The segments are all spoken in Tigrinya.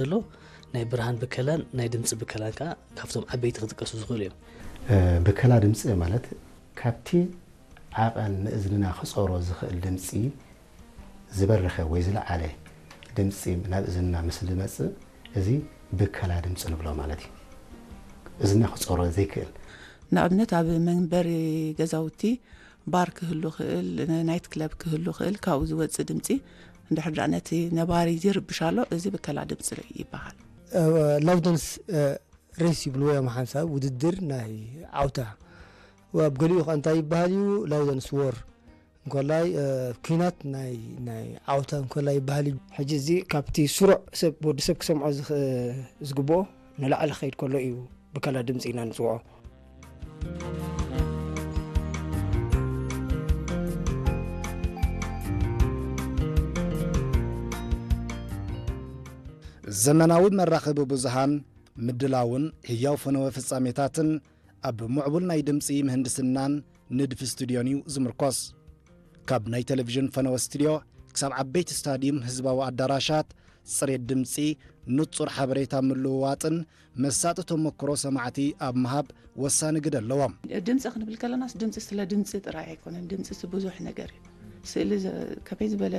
ዘሎ ናይ ብርሃን ብከላን ናይ ድምፂ ብከላን ከዓ ካብቶም ዓበይቲ ክጥቀሱ ዝኽእሉ እዮም። ብከላ ድምፂ ማለት ካብቲ ዓቐን ንእዝንና ክፀሮ ዝኽእል ድምፂ ዝበረኸ ወይ ዝለዓለ ድምፂ ናብ እዝንና ምስ ዝመፅእ እዚ ብከላ ድምፂ ንብሎ ማለት እዩ። እዝንና ክፀሮ ዘይክእል ንኣብነት ኣብ መንበሪ ገዛውቲ ባር ክህሉ ክእል፣ ናይት ክለብ ክህሉ ክእል፣ ካብኡ ዝወፅእ ድምፂ እንድሕር ደኣ ነቲ ነባሪ ይርብሽ ኣሎ፣ እዚ ብከላ ድምፂ ይበሃል። ላውደንስ ሬስ ይብልዎ እዮም ሓንሳብ ውድድር ናይ ዓውታ ኣብ ገሊኡ ከ እንታይ ይበሃል እዩ ላውደንስ ወር እንኮላይ ኩናት ናይ ናይ ዓውታ እንኮላይ ይበሃል እዩ። ሕጂ እዚ ካብቲ ስሩዕ ሰብ ወዲ ሰብ ክሰምዖ ዝኽ- ዝግብኦ ንላዕሊ ክኸይድ ከሎ እዩ ብከላ ድምፂ ኢና ንፅውዖ። ዘመናዊ መራኸቢ ብዙሃን ምድላውን ህያው ፈነወ ፍጻሜታትን ኣብ ምዕቡል ናይ ድምፂ ምህንድስናን ንድፊ ስቱድዮን እዩ ዝምርኮስ። ካብ ናይ ቴሌቪዥን ፈነወ ስቱድዮ ክሳብ ዓበይቲ ስታድዩም ህዝባዊ ኣዳራሻት፣ ጽሬት ድምፂ፣ ንጹር ሓበሬታ ምልውዋጥን መሳጢ ተመክሮ ሰማዕቲ ኣብ ምሃብ ወሳኒ ግደ ኣለዎም። ድምፂ ክንብል ከለናስ ድምፂ ስለ ድምፂ ጥራይ ኣይኮነን። ድምፂ ሲ ብዙሕ ነገር እዩ። ስእሊ ከመይ ዝበለ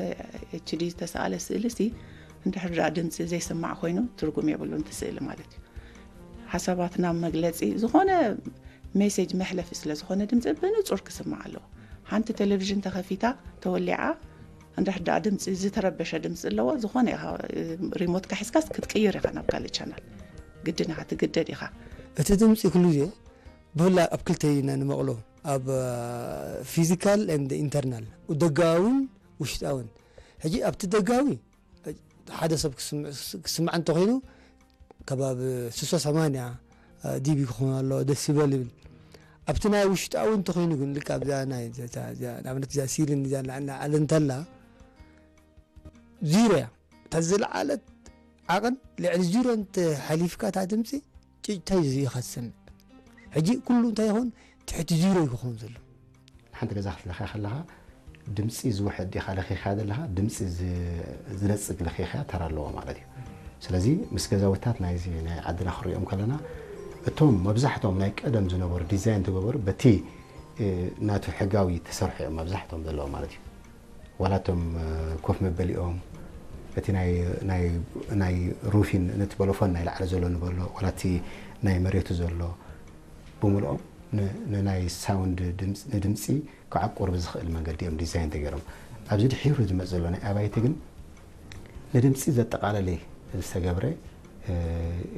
ኤችዲ ዝተሰኣለ ስእሊ ሲ እንድሕር ደኣ ድምፂ ዘይስማዕ ኮይኑ ትርጉም የብሉን እቲ ስእሊ ማለት እዩ። ሓሳባትና መግለፂ ዝኾነ ሜሴጅ መሕለፊ ስለ ዝኾነ ድምፂ ብንፁር ክስማዕ ኣለዎ። ሓንቲ ቴሌቪዥን ተኸፊታ ተወሊዓ እንድሕር ደኣ ድምፂ ዝተረበሸ ድምፂ ኣለዎ ዝኾነ ኢኻ ሪሞትካ ሒዝካስ ክትቅይር ኢኻ ናብ ካልእ ቻናል ግድን ኢኻ ትግደድ ኢኻ። እቲ ድምፂ ኩሉ ግዜ ብፍላይ ኣብ ክልተ ኢና ንመቕሎ ኣብ ፊዚካል ኤንድ ኢንተርናል ደጋውን ውሽጣውን። ሕጂ ኣብቲ ደጋዊ ሓደ ሰብ ክስምዕ እንተኮይኑ ከባቢ ስሳ ሰማንያ ዲቢ ክኾን ኣሎ ደሲበል ይብል። ኣብቲ ናይ ውሽጣዊ እንተኮይኑ ግን ልክ ኣብዛ ናይ ኣብነት እዛ ሲልን እዛ ንዓለ እንተላ ዚሮ እያ እታ ዝለዓለት ዓቐን ልዕሊ ዚሮ እንተ ሓሊፍካ እታ ድምፂ ጭጭታይ እዚ ኢኻ ትሰምዕ። ሕጂ ኩሉ እንታይ ይኸውን ትሕቲ ዚሮ እዩ ክኸውን ዘሎ። ሓንቲ ገዛ ክትለኽያ ከለኻ ድምፂ ዝውሕድ ዲኻ ለኺኻ ዘለኻ ድምፂ ዝነፅግ ለኺኻ ተራ ኣለዎ ማለት እዩ። ስለዚ ምስ ገዛውታት ናይዚ ናይ ዓድና ክሪኦም ከለና እቶም መብዛሕቶም ናይ ቀደም ዝነበሩ ዲዛይን ተገበሩ በቲ ናቱ ሕጋዊ ተሰርሑ እዮም መብዛሕቶም ዘለዉ ማለት እዩ። ዋላ እቶም ኮፍ መበሊኦም እቲ ናይ ሩፊን ነቲ በሎፎን ናይ ላዕሊ ዘሎ ንበሎ ዋላ እቲ ናይ መሬቱ ዘሎ ብምልኦም ንናይ ሳውንድ ንድምፂ ክዓቁር ብዝኽእል መንገዲ እዮም ዲዛይን ተገይሮም። ኣብዚ ድሒሩ ዝመፅ ዘሎ ናይ ኣባይቲ ግን ንድምፂ ዘጠቓለለ ዝተገብረ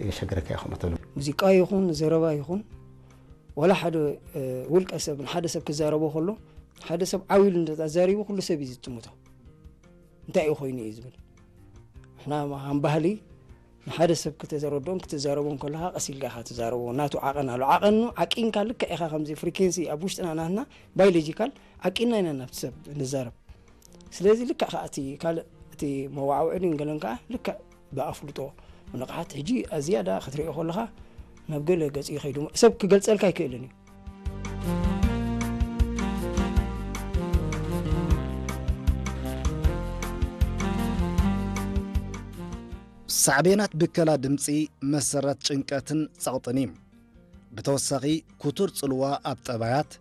የሸግረካ ይኹም ተሉ። ሙዚቃ ይኹን ዘረባ ይኹን ዋላ ሓደ ውልቀ ሰብ ንሓደ ሰብ ክዛረቦ ከሎ ሓደ ሰብ ዓው ኢሉ እንተዛሪቡ ኩሉ ሰብ እዩ ዝጥምቶ። እንታይ እዩ ኮይኑ እዩ ዝብል ንሕና ከም ባህሊ ንሓደ ሰብ ክተዘረድኦን ክትዛረቦን ከለኻ ቀስ ኢልካ ኢኻ ትዛረቦ ናቱ ዓቐን ኣሎ ዓቐኑ ዓቂንካ ልክዕ ኢኻ ከምዚ ፍሪኬንሲ ኣብ ውሽጥና ናትና ባዮሎጂካል ዓቂንና ኢና ናብቲ ሰብ ንዛረብ ስለዚ ልክዕ ከዓ እቲ ካልእ እቲ መዋዕውዒ ድንገለን ከዓ ልክዕ ብኣፍልጦ ንቕሓት ሕጂ ኣዝያዳ ክትሪኦ ከለኻ ናብ ገለ ገፂ ይኸይዱ ሰብ ክገልፀልካ ኣይክእልን እዩ ሳዕቤናት ብከላ ድምፂ መሰረት ጭንቀትን ጸቕጥን እዩ። ብተወሳኺ ክቱር ጽልዋ ኣብ ጠባያት፣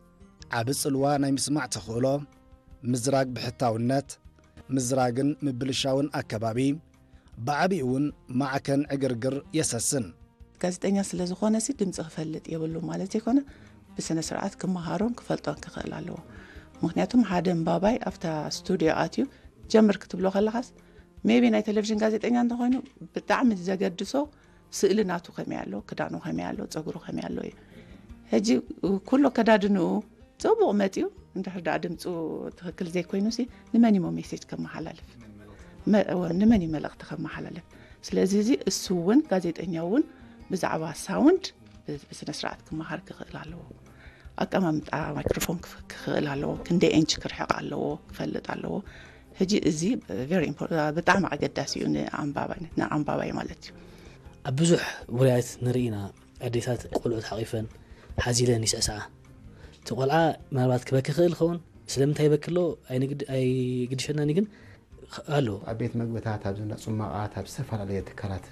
ዓቢ ጽልዋ ናይ ምስማዕ ተኽእሎ፣ ምዝራግ ብሕታውነት፣ ምዝራግን ምብልሻውን ኣከባቢ፣ ብዓቢኡ እውን ማዕከን ዕግርግር የሰስን። ጋዜጠኛ ስለ ዝኾነ ሲ ድምፂ ክፈልጥ የብሉ ማለት ዘይኮነ ብስነ ስርዓት ክመሃሮን ክፈልጦን ክኽእል ኣለዎ። ምክንያቱም ሓደ ኣንባባይ ኣብታ ስቱድዮ ኣትዩ ጀምር ክትብሎ ከለኻስ maybe ናይ ቴሌቪዥን ጋዜጠኛ እንተኾይኑ ብጣዕሚ ዘገድሶ ስእሊ ናቱ ከመይ ኣሎ፣ ክዳኑ ከመይ ኣሎ፣ ፀጉሩ ከመይ ኣሎ እዩ። ሕጂ ኩሉ ኣከዳድንኡ ፅቡቕ መፅዩ እንድሕር ደኣ ድምፁ ትኽክል ዘይኮይኑ ሲ ንመን እሞ ሜሴጅ ከመሓላልፍ? መ- እወ፣ ንመን እዩ መልእኽቲ ከመሓላልፍ? ስለዚ እዚ እሱ እውን ጋዜጠኛ እውን ብዛዕባ ሳውንድ ብ- ብስነ ስርዓት ክመሃር ክኽእል ኣለዎ። ኣቀማምጣ ማይክሮፎን ክፍ- ክኽእል ኣለዎ። ክንደይ ኤንች ክርሕቕ ኣለዎ ክፈልጥ ኣለዎ። ሕጂ እዚ very important ብጣዕሚ ኣገዳሲ እዩ ንኣንባባይ ንኣንባባይ ማለት እዩ። ኣብ ብዙሕ ውራያት ንርኢ ኢና ኣዴታት ቆልዑት ሓቒፈን ሓዚለን ይስዕስዓ። እቲ ቆልዓ ምናልባት ክበኪ ይኽእል ይኸውን፣ ስለምንታይ ይበኪ ኣሎ ኣይንግድ- ኣይግድሸናን እዩ ግን ኣሎ። ኣብ ቤት መግብታት፣ ኣብ ዝና ፅሟቓት፣ ኣብ ዝተፈላለየ ትካላት